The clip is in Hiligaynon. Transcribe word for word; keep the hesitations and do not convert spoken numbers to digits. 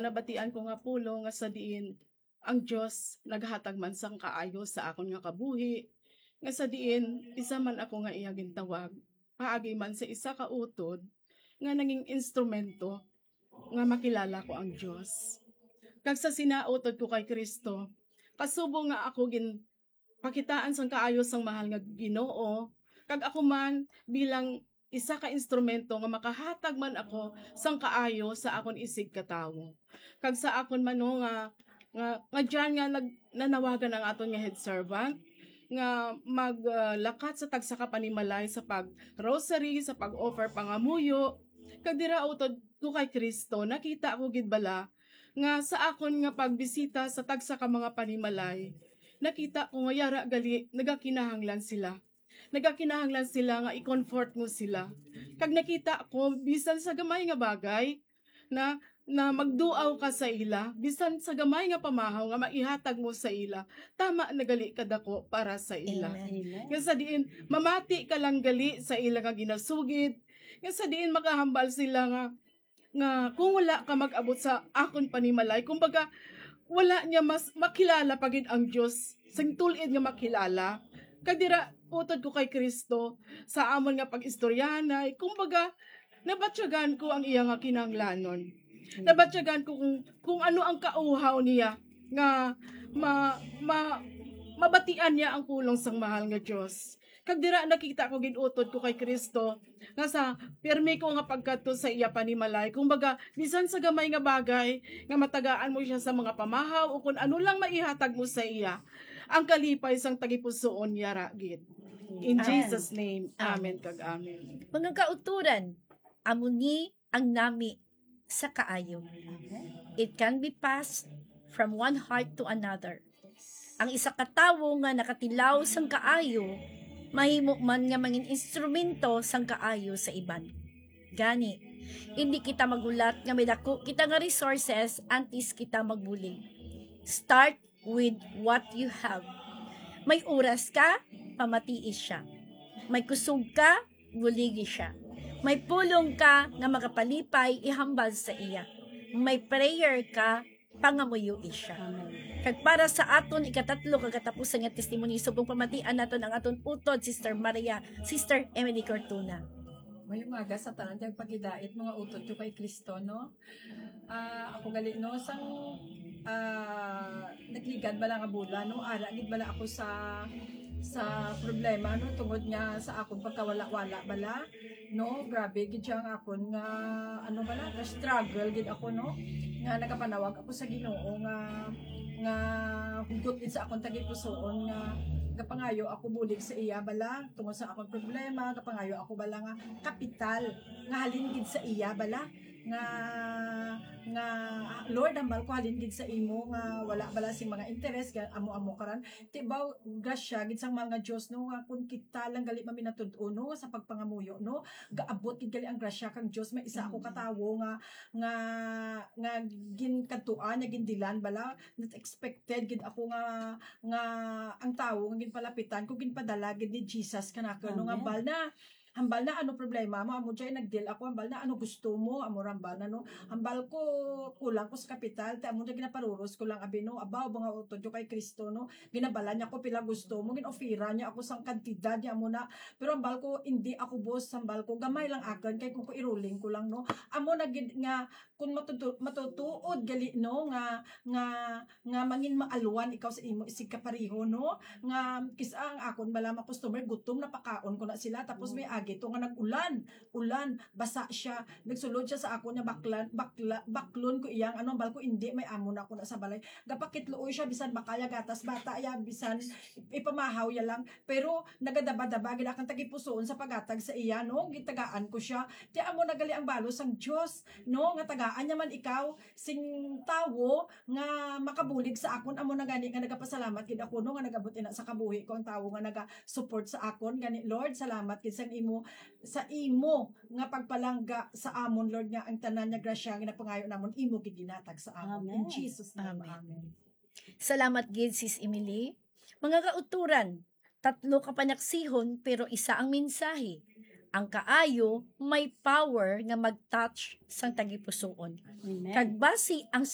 Nabatian ko nga pulong nga sa diin ang Dios naghatag man sang kaayo sa akon nga kabuhi, nga sa diin isa man ako nga iya gintawag, paagi man sa isa ka utod nga naging instrumento nga makilala ko ang Dios. Kag sa sinautod ko kay Cristo, kasubo nga ako ginpakitaan sang kaayo sang mahal nga Ginoo, kag ako man bilang isa ka instrumento nga makahatag man ako sang kaayo sa akon isig ka tawo. Kag sa akon man, no, nga, nga, nga diyan nga nag-, nanawagan ang aton nga head servant nga maglakat sa tagsa ka panimalay sa pag-rosary, sa pag-offer pangamuyo. Kag dira utod ko kay Cristo, nakita ko gid bala nga sa akon nga pagbisita sa tagsa ka mga panimalay, nakita ko nga yara gali nagakinahanglan sila. Nagakinahanglan sila nga i-comfort mo sila. Kag nakita ko, bisan sa gamay nga bagay, na, na magduaw ka sa ila, bisan sa gamay nga pamahaw nga maihatag mo sa ila, tama na gali kadako para sa ila. Amen. Amen. Nga sa diin, mamati ka lang gali sa ila nga ginasugid, nga sa diin makahambal sila nga, nga kung wala ka mag-abot sa akon panimalay, kumbaga, wala niya mas makilala pa gid ang Dios, sing tul-id nga makilala. Kag dira, utod ko kay Cristo, sa amon nga pag-istoryahanay, kumbaga, nabatyagan ko ang iya nga kinahanglanon. Nabatyagan ko kung, kung ano ang kauhaw niya nga ma-, ma-, mabatian niya ang pulong sang mahal nga Dios. Kag dira nakita ko gid utod ko kay Cristo nga sa pirmi ko nga pagkadto sa iya panimalay, kumbaga, bisan sa gamay nga bagay nga matagaan mo siya sa mga pamahaw o kun ano lang maihatag mo sa iya, ang kalipay sang tagipusoon yara gid. In Amen. Jesus' name, amen Amen. Kag amen. Mga kauturan, amo ni ang nami sa kaayo. It can be passed from one heart to another. Ang isa ka tawo nga nakatilaw sang kaayo, mahimo man nga mangin instrumento sang kaayo sa iban. Gani, indi kita maghulat nga may dako kita nga resources antes kita magbulig. Start with what you have. May oras ka, pamatii siya. May kusog ka, buligi siya. May pulong ka nga makapalipay, ihambal sa iya. May prayer ka, pangamuyoi siya. Amen. Kag para sa aton ikatatlo kag katapusan nga testimony, subong pamatian naton ang aton utod, Sister Maria, Sister Emily Cortuna. May umaga sa tanan kag pagidait, mga utod ko kay Cristo, no? Ah, ako gali, no, sang, ah, nagligad bala nga bulan, no, ara gid bala ako sa, sa problema, no, tungod nga sa akong pagkawala-wala bala, no, grabe gid siya nga akon nga, ano bala, struggle gid ako, no, nga nagapanawag ako sa Ginoo nga, nga hugot gid sa akong tagipusoon nga gapangayo ako bulig sa iya bala tungod sa akong problema, gapangayo ako bala nga kapital nga halin gid sa iya bala nga, nga, "Lord, hambal ko halin gid sa imo nga wala bala sing mga interes, ga-, amo-amo karan." Ti ba, grasya gid sang mahal nga Dios, no, nga kun kita lang gali maminatud-on, no, sa pagpangamuyo, no, gaabot gid gali ang grasya kang Dios. May isa ako ka tawo nga, nga, nga ginkadtuan, nga gindilan bala, not expected gid ako nga, nga ang tawo nga ginpalapitan ko, ginpadala gid ni Jesus kanako, no, nga Amen. Hambal na, hambal na, ano problema mo? Amo dyan, nag-deal ako, hambal na, ano gusto mo? Amo ra hambal na, no? Hambal ko, kulang ko sa kapital, ti amo dyan, ginaparuros ko lang, abi, no? Abaw, mga utod ko kay Cristo, no? Ginabala niya ko, pila gusto mo? Gin-offeran niya ako sang kantidad niya, amo na. Pero hambal ko, hindi ako, boss, hambal ko, gamay lang akin, kay kung ko iruling ko lang, no? Amo na gid nga, kung matutu-, matutuod gali, no, nga, nga, nga mangin maalwan ikaw sa imo isig kapareho, no, nga kis-a ang akon bala mga customer, gutom na, pakaon ko na sila, tapos may agi to nga nag-ulan, ulan, basa siya, nagsulod siya sa akon nga baklan, bakla-, baklon ko iyang, ano, hambal ko, hindi, may amo na ako na sa balay, gapakitluoy siya, bisan baka ya gatas bata ya, bisan ipamahaw ya lang, pero nagadaba-daba gid akong tagipusoon sa paghatag sa iya, no, gitagaan ko siya, ti amo na gali ang balos sang Dios, no, nga tagaan niya man ikaw sing tawo nga makabulig sa akon. Amo na gani nga nagapasalamat gid ako, no, nga nagabot ina sa kabuhi ko ang tawo nga naga-support sa akon. Gani, Lord, salamat gid sang imo, sa imo nga pagpalangga sa amon, Lord, nga ang tanan nga grasya nga ginapangayo namon, imo gid ginatag sa amon. In Amen. Jesus' name, Amen. Amen. Salamat gid, Sis Emily. Mga kauturan, tatlo ka panaksihon, pero isa ang mensahe. Ang kaayo may power nga mag-touch sang tagipusoon. Amen. Kag basi ang